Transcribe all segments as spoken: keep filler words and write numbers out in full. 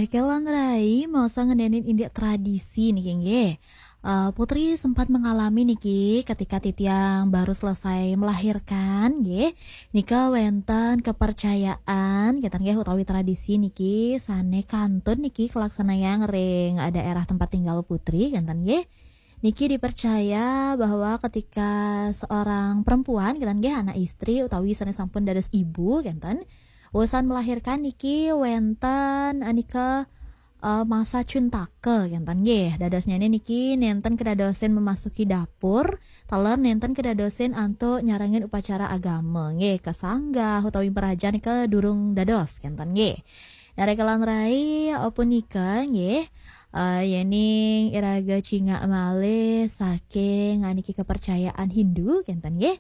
Kelan Rai, masa ngenenin indik tradisi niki nggih. Eh, Putri sempat mengalami niki ketika titiang baru selesai melahirkan nggih. Nika wenten kepercayaan kenten nggih utawi tradisi niki sane kantun niki kelaksanayang ring, eh, daerah tempat tinggal Putri kenten nggih. Niki dipercaya bahwa ketika seorang perempuan kenten nggih anak istri utawi sane sampun dados ibu kenten, usan melahirkan niki wenten anika, eh, masa cuntaka kenten nggih. Dadosnyane niki nenten kedadosen memasuki dapur, taler nenten kedadosen antuk nyarengin upacara agama nggih, ka sanggah utawi merajan nika durung dados kenten nggih. Nah, Rekelan Rai, eh, punika nggih, eh, yening iraga cingak malih saking aniki kepercayaan Hindu kenten nggih.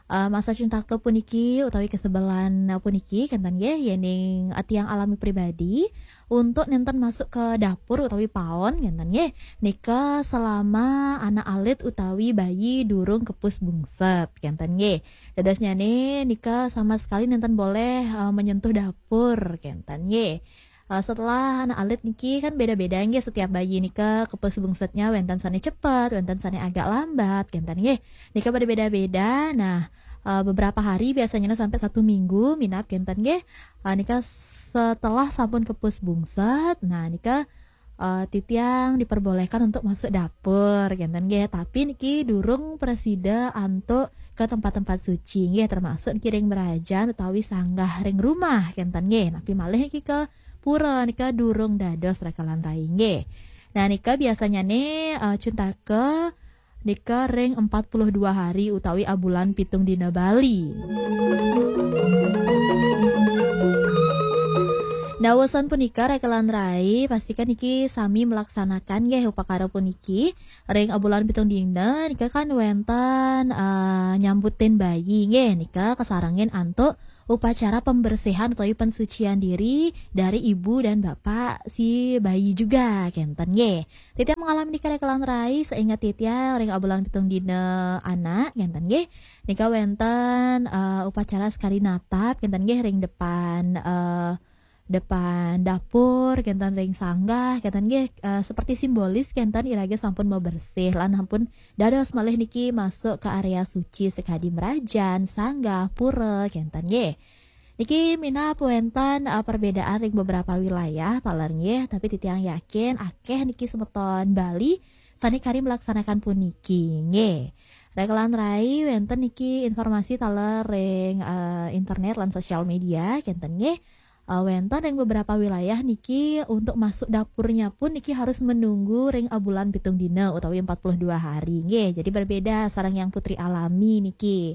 Eh, masa cuntaka puniki utawi kesebelan puniki kenten nggih, yening tiang alami pribadi untuk nenten masuk ke dapur utawi paon kenten nggih. Nika selama anak alit utawi bayi durung kepus bungset kenten nggih. Dadosnyane nika sama sekali nenten boleh, eh, menyentuh dapur kenten nggih. Eh, setelah anak alit niki kan beda-beda nggih, setiap bayi nika kepus bungsetnya wenten sane cepet, wenten sane agak lambat kenten nggih. Nika pada beda-beda. Nah, eh, beberapa hari biasanya sampai satu minggu minab kenten nggih. Eh, nika setelah sampun kepus bungset, nah nika, eh, titiang diperbolehkan untuk masuk dapur kenten nggih. Tapi niki durung prasida antuk ke tempat-tempat suci nggih, termasuk niki ring merajan utawi sanggah ring rumah kenten nggih. Napi malih niki ke pura nika durung dados Rekelan Rai nggih. Nah, nika biasanyane, eh, cuntaka nika ring empat puluh dua hari utawi abulan pitung dina Bali. Nah, usan punika Rekelan Rai, pastikan niki sami melaksanakan nggih upakara puniki ring abulan pitung dina nika kan wenten, eh, nyambutin bayi nggih, nika kasarengin antuk upacara pembersihan utawi pensucian diri dari ibu dan bapak si bayi juga kenten nggih. Titiang mengalami nika Rekelan Rai, seingat titiang ring abulan pitung dina anak kenten nggih. Nika wenten, eh, upacara sekali natap kenten nggih ring depan, eh, depan dapur kenten ring sanggah kenten nggih, eh, seperti simbolis kenten iraga sampun mau bersih lan sampun dados malih niki masuk ke area suci sekadi merajan, sanggah, pura kenten nggih. Niki minab wenten, eh, perbedaan ring beberapa wilayah taler nggih, tapi titiang yakin akeh niki semeton Bali sane kari melaksanakan puniki nggih. Rekelan Rai wenten niki informasi taler ring, eh, internet lan sosial media kenten nggih. Eh, wenten ring beberapa wilayah niki untuk masuk dapurnya pun niki harus menunggu ring abulan pitung dina utawi empat puluh dua hari nggih. Jadi berbeda sareng yang Putri alami niki.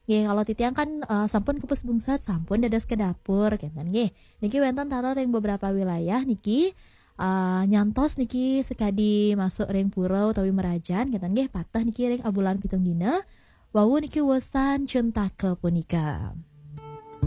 Nggih, kalau titiang kan, eh, sampun kepus bungset, sampun dados ke dapur kenten nggih. Niki wenten taler ring beberapa wilayah niki, eh, nyantos niki sekadi masuk ring pura utawi merajan kenten nggih, pateh niki ring abulan pitung dina. Wau niki usan cuntaka punika.